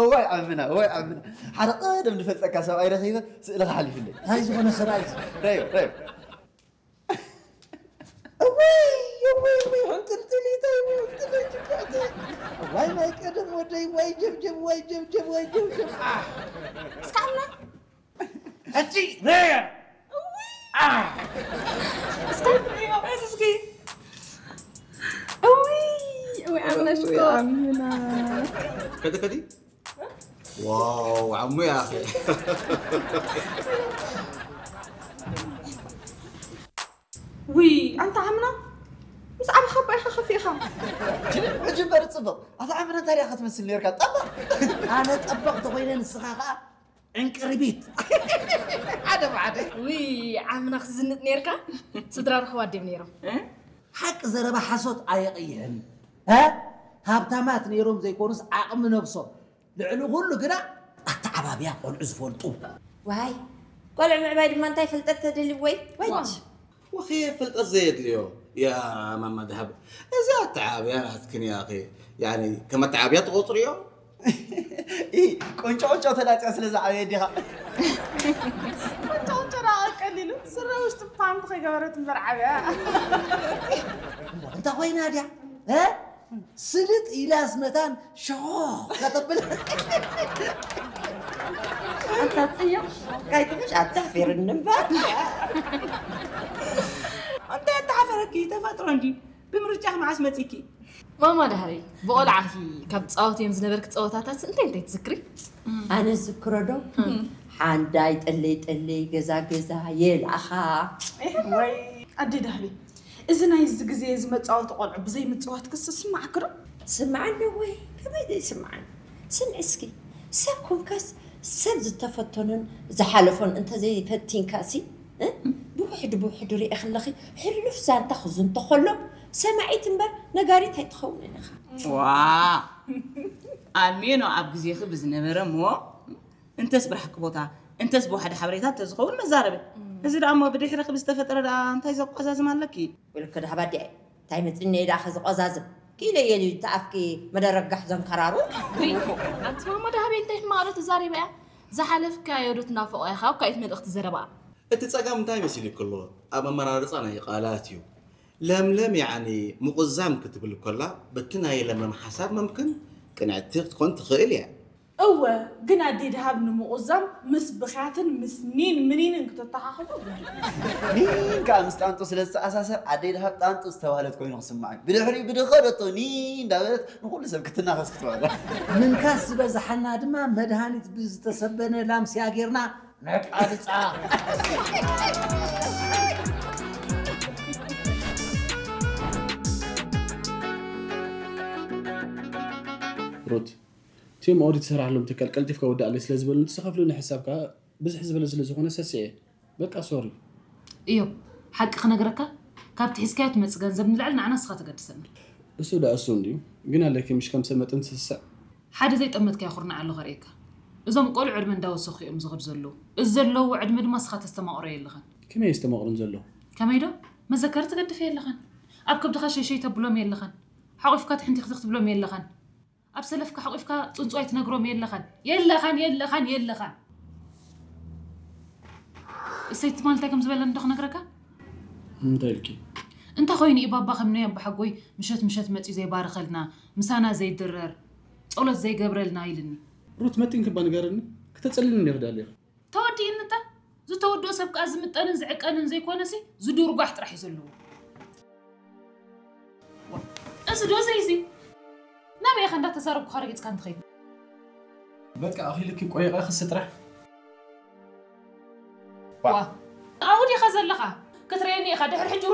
እዋይ ዓምና፣ እዋይ ዓምና። ሓደ ቀደም ዝፈልጠካ ሰብኣይ ረኺበ ስእልኻ ሓሊፉለይ። እንታይ ዝኾነ ሰብኣይ? ረዮ፣ ረዮ። እዋይ፣ እዋይ፣ እዋይ፣ ሕንጥልጥሊተይ፣ እዋይ፣ ሕንጥልጥሊተይ። እዋይ፣ ናይ ቀደም ወደይ፣ ዋይ ጀብጀብ፣ ዋይ ጀብጀብ፣ ዋይ ጀብጀብ። ኣሕ። እስካልና ሕጂ ረያ። ኣሕ። እስካ እስኪ። እውይ፣ እውይ፣ ኣምላሽ እኮ። ኣሚና። ከዲ፣ ከዲ። ዋው፣ ዓሙ ያኺ። ውይ፣ ኣንታ ዓምና፣ ምስ ዓብኻ እባ ኢኻ ከፊእኻ። ሕጂ እምበር ጽቡቕ። ኣታ ዓምና እንታይ ዲኻ ክትመስል ነርካ? ጠበቕ። ኣነ ጠበቕ ተኾይነ ንስኻ ኸኣ ዕንቅርቢት። ሓደ ብሓደ። ውይ፣ ዓምና ክትዝንጥ ነርካ? ስድራ ርሕዋ ድዮም ነይሮም? እ? ሓቂ ዘረባ ሓሶት ኣየቕይሕን። እ? ሃብታማት ነይሮም ዘይኮኑስ ዓቕሚ ነብሶም። ልዕሊ ኩሉ ግና ኣተዓባብያ ቆልዑ ዝፈልጡ። ዋይ፣ ቆልዑ ምዕባይ ድማ እንታይ ፍልጠት ተደልዩ ወይ? ወይ! ዋው። ወኸ ፍልጠት ዘየድልዮ ያ ማማ ደሃብ። እዚ ኣተዓባብያ ናትክን ያኺ። ያኒ ከም ኣተዓባብያ ትቆጽርዮ? ኢ፣ ቁንጮ ቁንጮ ተላጽያ ስለ ዝዓበየ ዲኻ? ቁንጮ ቁንጮ ደኣ ቀሊሉ፣ ስረ ውሽጢ ፓንት ከይገበረት እምበር ዓብያ። እሞ እንተ ኮይና ድያ? እ? ስልጥ ኢላስ መታን ሸኾኽ ከተብል። ኣንታ ጽዮን፣ ካይትምሽ ኣትሕፊርኒ እምበር። እንታይ ኣተሓፈረኪ? ተፈጥሮ እንዲ። ብምርጫኺ መዓስ መጺኪ? ማማ ዳህሪ፣ ብቆልዓኺ ካብ ትጻወትዮም ዝነበርኪ ጸወታታት እንታይ እንታይ ትዝክሪ? ኣነ ዝክሮ ዶ? ሓንዳይ ጠለይ ጠለይ፣ ገዛ ገዛ፣ የልኣኻ። ወይ ኣደ ዳህሪ፣ እዚ ናይዚ ግዜ እዚ መጻወቲ ቆልዑ ብዘይ ምጽዋት ክስ ስማዕኪ ዶ? ስምዓኒ ወይ? ከመይ ዘይስምዓኒ? ስምዒ እስኪ፣ ሰብ ኮንካስ ሰብ ዝተፈተኖን ዝሓለፎን እንተዘይፈቲንካሲ፣ እ? ብውሕዱ ብውሕዱ ሪኤ ከለኺ ሕሉፍ ዛንታ ክዝንቶ ከሎ ሰማዒት እምበር ነጋሪት ኣይትኸውንን ኢኻ። ዋ! ኣሜኖ ኣብ ግዜኺ ብዝነበረ እሞ እንተስ ብራሕቂ ቦታ፣ እንተስ ብዋሕዲ ሓበሬታ እንተዝኸውን መዛረቢ። እዚ ደኣ እሞ ብድሕርኺ ብዝተፈጠረ ደኣ እንታይ ዘቋዛዝም ኣለኪ? ወለከ ደሃባ ኣዲኣይ፣ እንታይ መፅኒ እየ ደኣ ከዝቆዛዝም? ክኢለ እየ ልዩ ተኣፍኪ መደረጋሕ ዘንከራሩ። ውይ፣ ኣቲ ማማ ደሃበይ እንታይ ሕማቕ ዶ ትዛረቢ እያ? ዝሓለፍካዮ ዶ ትናፍቖ ኢኻ? እኳ ኣይት መልእኽቲ ዘረባ። እቲ ጸገም እንታይ መሲሉኪ ኣሎ? ኣብ ኣመራርጻ ናይ ቃላት እዩ። ለምለም ያዕኒ ምቑዛም ክትብል ከላ፣ በቲ ናይ ለምለም ሓሳብ መምክን ቅንዕቲ ክትኮን ትኽእል እያ። እወ፣ ግን ኣደይ ደሃብ ንምቑዛም ምስ ብኽያትን ምስ ኒን ምኒንን ክተተኻኽሎ ግቡእ። ኒን ከኣ ምስ ጣንጡ ስለ ዝተኣሳሰር ኣደይ ደሃብ ጣንጡ ዝተባህለት ኮይኑ ክስምዓኒ። ብድሕሪኡ ብድኸደቶ ኒን እንዳበለት ንኹሉ ሰብ ክትናኸስ ክትውዕል። ምንካስ ዝበዝሓና ድማ መድሃኒት ብዝተሰበነ ላምስያ ጌርና ነቃልጻ። ሩት፣ እቲኦም ኦዲት ዝሰርሓሎም ትካል ቀልጢፍካ ወዳእለይ ስለ ዝበሉኒ፣ እቲ ዝኸፍሉኒ ሕሳብ ከኣ ብዝሕ ዝበለ ስለ ዝኾነ ሰሲዐ። በቃ ሶሪ። እዮብ፣ ሓቂ ክነግረካ፣ ካብቲ ሒዝካዮ ትመጽእ ገንዘብ ንላዕሊ ንዓና ንስኻ ተገድሰና። እሱ ደኣ እሱ እንድዩ፣ ግን ኣለኪ ምሽ ከም ሰብ መጠን ትስስዕ። ሓደ ዘይጠመትካዮ ኩርናዕ ኣሎ ከርእየካ። እዞም ቆልዑ ዕድመ እንዳወሰኹ እዮም ዝኸዱ ዘለዉ። እዚ ዘለውዎ ዕድመ ድማ ንስኻ ተስተማቕሮ የለኻን። ከመይ እየ ዝተማቕሮም ዘለኹ? ከመይ ዶ? መዘከሪ ትገድፍ የለኻን። ኣብ ከብድኻ ሸይሸይ ተብሎም የለኻን። ሓቑፍካ ትሕንቲኽትኽ ትብሎም የለኻን። ኣብ ሰለፍካ ሓቂፍካ ጽንጽዋይ ትነግሮም የለኻን። የለኻን፣ የለኻን፣ የለኻን። እሰይ ትማል እንታይ ከም ዝበለኒ ዶ ክነግረካ? እንታይ ኢልኪ? እንታይ ኮይኑ እዩ ባባ ከም ናይ ኣባሓጎይ ምሸት ምሸት መጺኡ ዘይባርኸልና፣ ምሳና ዘይድረር፣ ጸሎት ዘይገብረልና ኢልኒ። ሩት መጢንኪ እባ ንገርኒ፣ ክተጸልልኒ ዲኺ ደሊኺ? ተወዲእኒ እታ። ዝተወድኦ ሰብ ከኣ ዝምጠንን ዝዕቀንን ዘይኮነሲ ዝድርጓሕ ጥራሕ እዩ ዘለዎ። እዚ ዶ ዘይዚ? ናበይ ኢኻ እንዳተዛረብኩኻ ረጊጽካ እንትኸይድ? በቃ ኣኺልኪ ቆይቐ ክሲ ጥራሕ። ዋ። ኣብኡ ዲኻ ዘለኻ? ክትርእየኒ ኢኻ ድሕሪ ሕጂ